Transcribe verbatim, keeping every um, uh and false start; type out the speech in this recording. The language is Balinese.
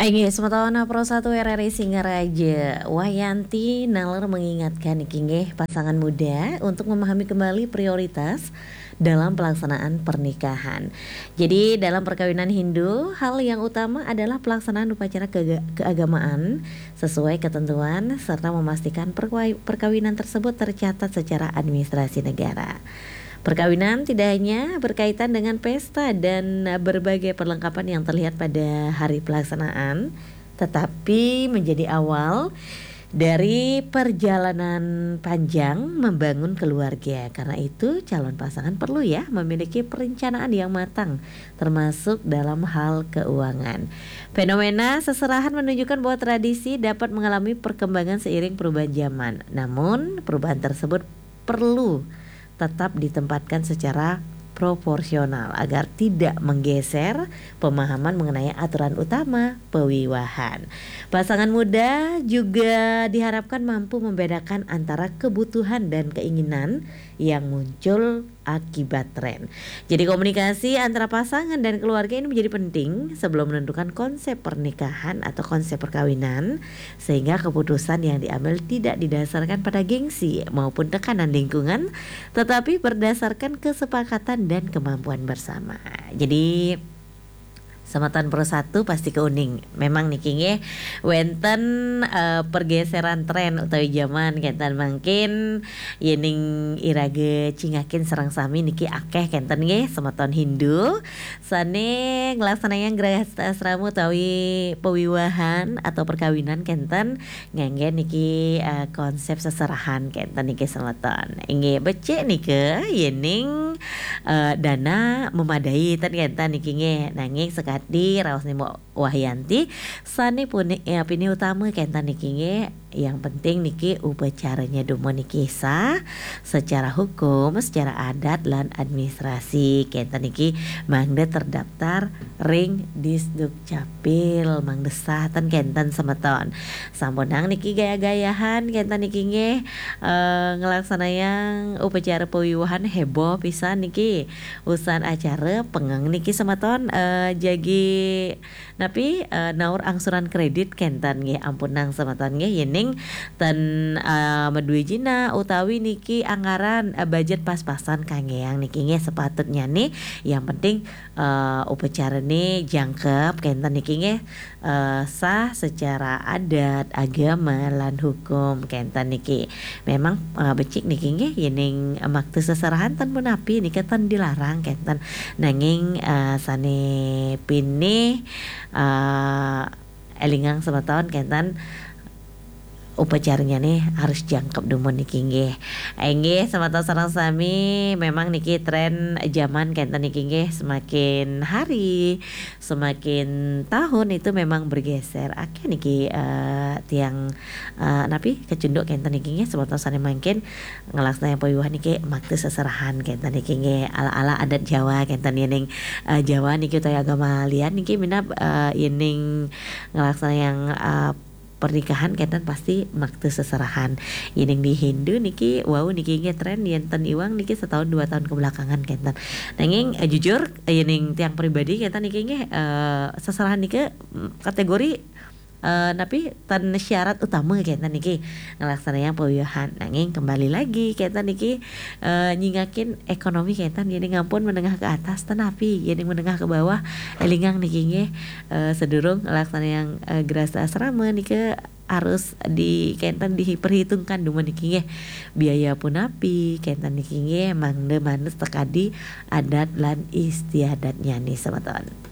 Inggih, semeton Pro satu R R I Singaraja, Wayanti naler mengingatkan niki nggih pasangan muda untuk memahami kembali prioritas dalam pelaksanaan pernikahan. Jadi dalam perkawinan Hindu, hal yang utama adalah pelaksanaan upacara kega-, keagamaan sesuai ketentuan serta memastikan perkawai-, perkawinan tersebut tercatat secara administrasi negara. Perkawinan tidak hanya berkaitan dengan pesta dan berbagai perlengkapan yang terlihat pada hari pelaksanaan, tetapi menjadi awal dari perjalanan panjang membangun keluarga. Karena itu, calon pasangan perlu ya memiliki perencanaan yang matang, termasuk dalam hal keuangan. Fenomena seserahan menunjukkan bahwa tradisi dapat mengalami perkembangan seiring perubahan zaman. Namun, perubahan tersebut perlu tetap ditempatkan secara proporsional agar tidak menggeser pemahaman mengenai aturan utama pewiwahan. Pasangan muda juga diharapkan mampu membedakan antara kebutuhan dan keinginan yang muncul akibat tren. Jadi komunikasi antara pasangan dan keluarga ini menjadi penting sebelum menentukan konsep pernikahan atau konsep perkawinan, sehingga keputusan yang diambil tidak didasarkan pada gengsi maupun tekanan lingkungan, tetapi berdasarkan kesepakatan dan kemampuan bersama. Jadi, semeton Pro satu pasti keuning. Memang niki nggih wenten, eh, pergeseran tren utawi zaman kenten mangkin, yening iraga cingakin sareng sami niki akeh kenten nggih semeton Hindu sane nglaksanayang grahastasrama utawi pewiwahan atau perkawinan kenten ngangge niki, eh, konsep seserahan kenten niki semeton. Inggih becik nika yening, eh, dana memadai ten kenten niki nggih. Nanging sekadi raos nimo Wayanti sane puni-, eh, pini utama kenten niki nggih. Yang penting niki upacaranya dumun niki sah secara hukum, secara adat lan administrasi kenten niki mangda terdaftar ring Disduk Capil, mangda sah ten kenten semeton. Sampunang niki gaya-gayahan kenten niki nggih, eh, nglaksanayang upacara pewiwahan heboh pisan niki. Usan acara pengeng niki semeton, eh, jagi napi, eh, naur angsuran kredit kenten nggih, ampunang semeton nggih yening ten, eh, madue jina utawi niki anggaran, eh, budget pas-pasan kanggeang niki nggih sepatutnya nih. Yang penting, eh, upacarane jangkep kenten niki nggih, eh, sah secara adat, agama lan hukum kenten niki. Memang, eh, becik niki nggih yening makta seserahan ten punapi nika ten dilarang kenten. Nanging, eh, sane pinih, eh, elingang semeton kenten upacaranya nih harus jangkep dumun niki nggih. Inggih semeton sareng sami memang niki tren zaman kenten niki nggih semakin hari, semakin tahun itu memang bergeser. Akeh niki, eh, tiang, eh, napi kecunduk kenten niki nggih semeton sane mangkin nglaksanayang pewiwahan niki makta seserahan kenten niki nggih ala-ala adat Jawa kenten yening, eh, Jawa niki utawi agama lian niki minab, eh, yening nglaksanayang, eh, pernikahan kenten pasti makta seserahan. Yening di Hindu niki wau niki nggih tren yenten iwang niki setahun dua tahun kebelakangan kenten. Nanging, eh, jujur, eh, yening tiang pribadi kenten niki nggih, eh, seserahan niki, mm, kategori, eh, napi ten syarat utama kenten niki nglaksanayang pewiwahan. Nanging kembali lagi kenten niki, eh, nyingakin ekonomi kenten yening ampun menengah ke atas ten napi yening menengah ke bawah elingang niki nggih, eh, sedurung nglaksanayang, eh, grahastasrama nika harus di kenten diperhitungkan dumun niki nggih. Biaya punapi kenten niki nggih mangda manut sekadi adat lan istiadatnya nih semeton.